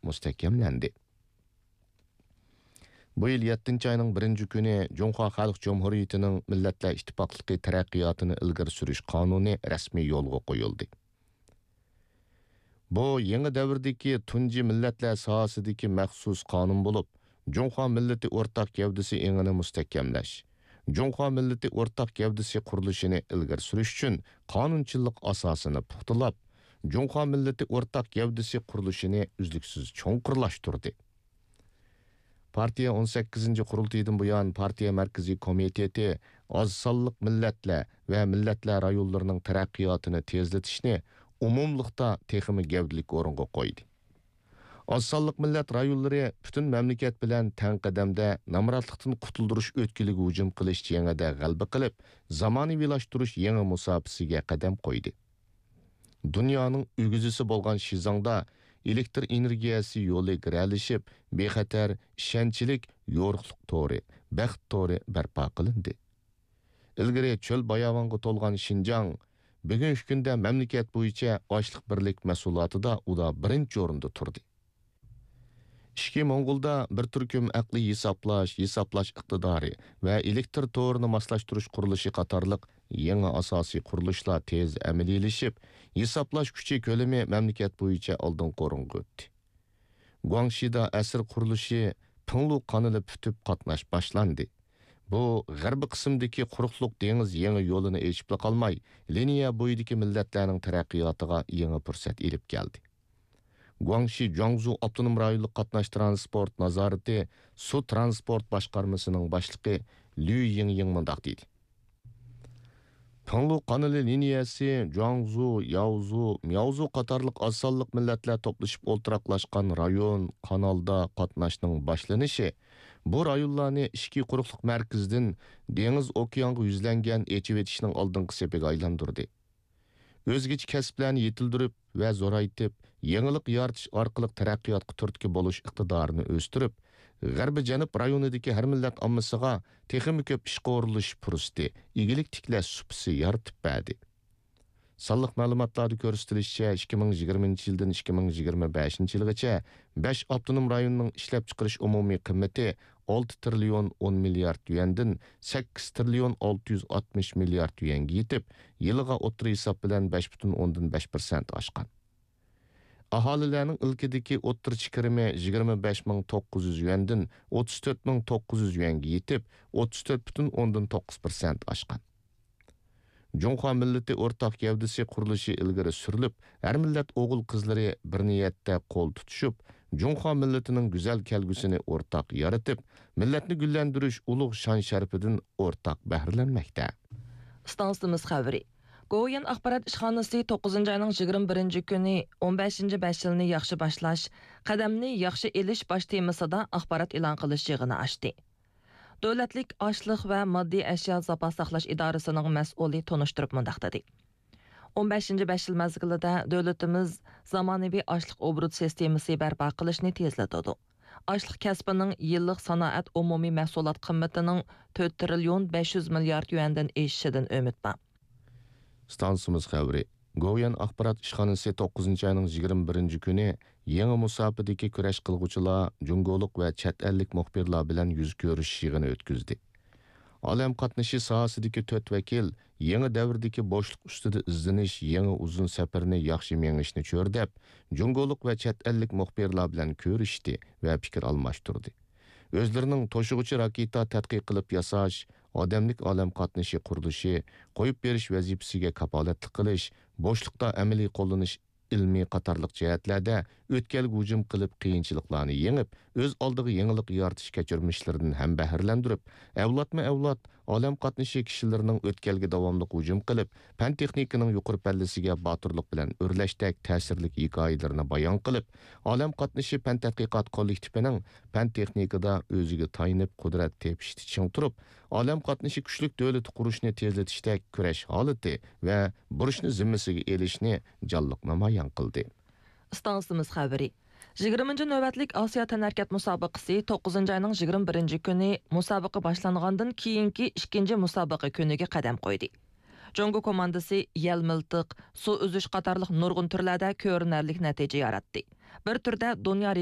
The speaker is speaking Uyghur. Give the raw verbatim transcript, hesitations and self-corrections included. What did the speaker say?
مۇستەھكەملەندى. بۇ يىل يەتتىنچى ئاينىڭ بىرىنچى كۈنى جۇڭخۇا خەلق جۇمھۇرىيىتىنىڭ مىللەتلەر ئىتتىپاقلىقى تەرەققىياتىنى ئىلگىرى سۈرۈش قانۇنى رەسمىي يولغا قويۇلدى. بۇ يېڭى دەۋردىكى تۇنجى مىللەتلەر ساھەسىدىكى مەخسۇس قانۇن بولۇپ، جۇڭخۇا مىللىتى ئورتاق گەۋدىسى ئېڭىنى مۇستەھكەملەش، جۇڭخۇا مىللىتى ئورتاق گەۋدىسى قۇرۇلۇشىنى ئىلگىرى سۈرۈش ئۈچۈن قانۇنچىلىق ئاساسىنى پۇختىلاپ، جۇڭخۇا مىللىتى ئورتاق گەۋدىسى قۇرۇلۇشىنى ئۈزلۈكسىز چوڭقۇرلاشتۇردى. پارتىيە ئون سەككىزىنچى قۇرۇلتىيىدىن بۇيان، پارتىيە مەركىزىي كومىتېتى ئاز سانلىق مىللەتلەر ۋە مىللەتلەر رايونلىرىنىڭ تەرەققىياتىنى تېزلىتىشنى ئومۇملۇقتا تېخىمۇ گەۋدىلىك ئورۇنغا قويدى. ئاز سانلىق مىللەت رايونلىرى پۈتۈن مەملىكەت بىلەن تەڭ قەدەمدە نامراتلىقتىن قۇتۇلدۇرۇش ئۆتكىلىگە ھۇجۇم قىلىش جېڭىدە غەلىبە قىلىپ، زامانىۋىلاشتۇرۇش يېڭى مۇساپىسىگە قەدەم قويدى. دۇنيانىڭ ئۆگزىسى بولغان شىزاڭدا ئېلېكتر ئېنېرگىيەسى يولى گىرەلىشىپ، بىخەتەر، ئىشەنچلىك يورۇقلۇق تورى، بەخت تورى بەرپا قىلىندى. ئىلگىرى چۆل باياۋانغا تولغان شىنجاڭ، بۈگۈنكى كۈندە مەملىكەت بويىچە ئاشلىق بىرلىك مەھسۇلاتىدا ئۇدا بىرىنچى ئورۇندا تۇردى. ئىچكى موڭغۇلدا بىر تۈركۈم ئەقلىي ھېسابلاش، ھېسابلاش ئىقتىدارى ۋە ئېلېكتر تورىنى ماسلاشتۇرۇش قۇرۇلۇشى قاتارلىق يېڭى ئاساسىي قۇرۇلۇشلار تېز ئەمەلىيلىشىپ، ھېسابلاش كۈچى كۆلىمى مەملىكەت بويىچە ئالدىنقى ئورۇنغا ئۆتتى. گۇاڭشىدا ئەسىر قۇرۇلۇشى پىڭلۇ قانىلى پۈتۈپ، قاتناش باشلاندى. بۇ غەربىي قىسىمدىكى قۇرۇقلۇق دېڭىز يېڭى يولىنى ئېچىپلا قالماي، لىنىيە بويىدىكى مىللەتلەرنىڭ تەرەققىياتىغا يېڭى پۇرسەت ئېلىپ كەلدى. گۇاڭشى جۇاڭزۇ ئاپتونوم رايونلۇق قاتناش تىرانسپورت نازارىتى سۇ تىرانسپورت باشقارمىسىنىڭ باشلىقى لۈ يىڭيىڭ مۇنداق دېدى: پىڭلۇ قانىلى لىنىيەسى جۇاڭزۇ، ياۋزۇ، مياۋزۇ قاتارلىق ئاز سانلىق مىللەتلەر توپلىشىپ ئولتۇراقلاشقان رايون، قانالدا قاتناشنىڭ باشلىنىشى بۇ رايونلارنى ئىچكى قۇرۇقلۇق مەركىزىدىن دېڭىز ئوكيانغا يۈزلەنگەن ئېچىۋېتىشنىڭ ئالدىنقى سېپىگە ئايلاندۇردى. ئۆزگىچە كەسىپلەرنى يېتىلدۈرۈپ ۋە زورايتىپ، يېڭىلىق يارىتىش ئارقىلىق تەرەققىياتقا تۈرتكە بولۇش ئىقتىدارىنى ئۆستۈرۈپ، غەربىي جەنۇب رايونىدىكى ھەر مىللەت ئاممىسىغا تېخىمۇ كۆپ ئىشقا ئورۇنلىشىش پۇرسىتى، ئىگىلىك تىكلەش سۇپىسى يارىتىپ بەردى. سانلىق مەلۇماتلاردا كۆرسىتىلىشىچە، ئىككى مىڭ يىگىرمىنچى يىلدىن ئىككى مىڭ يىگىرمە بەشىنچى يىلغىچە بەش ئاپتونوم رايوننىڭ ئىشلەپچىقىرىش ئومۇمىي قىممىتى ئالتە تىرىليون ئون مىليارد يۈەندىن سەككىز تىرىليون ئالتە يۈز ئاتمىش مىليارد يۈەنگە يېتىپ، يىلىغا ئوتتۇرا ھېساب بىلەن بەش پۈتۈن ئوندىن بەش پىرسەنت ئاشقان. ئاھالىلەرنىڭ ئىلكىدىكى ئوتتۇرىچە كىرىمى يىگىرمە بەش مىڭ توققۇز يۈز يۈەندىن ئوتتۇز تۆت مىڭ توققۇز يۈز يۈەنگە يېتىپ، ئوتتۇز تۆت پۈتۈن ئوندىن توققۇز پىرسەنت ئاشقان. جۇڭخۇا مىللىتى ئورتاق گەۋدىسى قۇرۇلۇشى ئىلگىرى سۈرۈلۈپ، ھەر مىللەت ئوغۇل-قىزلىرى بىر نىيەتتە قول تۇتۇشۇپ، جۇڭخۇا مىللىتىنىڭ گۈزەل كەلگۈسىنى ئورتاق يارىتىپ، مىللەتنى گۈللەندۈرۈش ئۇلۇغ شان-شەرىپىدىن ئورتاق بەھرىلەنمەكتە. ئىستانسىمىز خەۋىرى. گوۋۇيۈەن ئاخبارات ئىشخانىسى توققۇزىنچى ئاينىڭ يىگىرمە بىرىنچى كۈنى ئون بەشىنچى بەش يىلنى ياخشى باشلاش، قەدەمنى ياخشى ئېلىش باش تېمىسىدا ئاخبارات ئېلان قىلىش يىغىنى ئاچتى. دۆلەتلىك ئاشلىق ۋە ماددىي ئەشيا زاپاس ساقلاش ئىدارىسىنىڭ مەسئۇلى تونۇشتۇرۇپ مۇنداق دېدى: ئون بەشىنچى بەش يىل مەزگىلىدە دۆلىتىمىز زامانىۋى ئاشلىق ئوبوروت سىستېمىسى بەرپا قىلىشنى تېزلىتىدۇ. ئاشلىق كەسپىنىڭ يىللىق سانائەت ئومۇمىي مەھسۇلات قىممىتىنىڭ تۆت تىرىليون بەش يۈز مىليارد يۈەندىن ئېشىشىدىن ئۈمىد بار. ئىستانسىمىز خەۋىرى. گوۋۇيۈەن ئاخبارات ئىشخانىسى توققۇزىنچى ئاينىڭ يىگىرمە بىرىنچى كۈنى يېڭى مۇساپىدىكى كۈرەش قىلغۇچىلار جۇڭگولۇق ۋە چەت ئەللىك مۇخبىرلار بىلەن يۈز كۆرۈشۈش يىغىنى ئۆتكۈزدى. ئالەم قاتنىشى ساھەسىدىكى تۆت ۋەكىل يېڭى دەۋردىكى بوشلۇق ئۈستىدە ئىزدىنىش يېڭى ئۇزۇن سەپىرىنى ياخشى مېڭىشنى چۆرىدەپ، جۇڭگولۇق ۋە چەت ئەللىك مۇخبىرلار بىلەن كۆرۈشتى ۋە پىكىر ئالماشتۇردى. ئۆزلىرىنىڭ توشۇغۇچى راكېتا تەتقىق قىلىپ ياساش، ئادەملىك ئالەم قاتنىشى قۇرۇلۇشى، قويۇپ بېرىش ۋەزىپىسىگە كاپالەتلىك قىلىش، بوشلۇقتا ئەمەلىي قوللىنىش ئىلمى قاتارلىق جەھەتلەردە ئۆتكەلگە ھۇجۇم قىلىپ، قىيىنچىلىقلارنى يېڭىپ، ئۆز ئالدىغا يېڭىلىق يارىتىش كەچۈرمىشلىرىدىن ھەمبەھىرلەندۈرۈپ، ئەۋلادمۇ ئەۋلاد ئالەم قاتنىشى كىشىلىرىنىڭ ئۆتكەلگە داۋاملىق ھۇجۇم قىلىپ، پەن تېخنىكىنىڭ يۇقىرى پەللىسىگە باتۇرلۇق بىلەن ئۆرلەشتەك تەسىرلىك ھېكايىلىرىنى بايان قىلىپ، ئالەم قاتنىشى پەن تەتقىقات كوللېكتىپىنىڭ پەن تېخنىكىدا ئۆزىگە تايىنىپ، قۇدرەت تېپىشتا چىڭ تۇرۇپ، ئالەم قاتنىشى كۈچلۈك دۆلىتى قۇرۇشنى تېزلىتىشتەك كۈرەش ھالىتى ۋە بۇرچنى زىممىسىگە ئېلىشنى جانلىق نامايان قىلدى. ئىستانسىمىز خەۋىرى. يىگىرمىنچى نۆۋەتلىك ئاسىيا تەنھەرىكەت مۇسابىقىسى توققۇزىنچى ئاينىڭ يىگىرمە بىرىنچى كۈنى مۇسابىقە باشلانغاندىن كېيىنكى ئىككىنچى مۇسابىقە كۈنىگە قەدەم قويدى. جۇڭگو كوماندىسى يەل مىلتىق، سۇ ئۈزۈش قاتارلىق نۇرغۇن تۈرلەردە كۆرۈنەرلىك نەتىجە ياراتتى. بىر تۈردە دۇنيا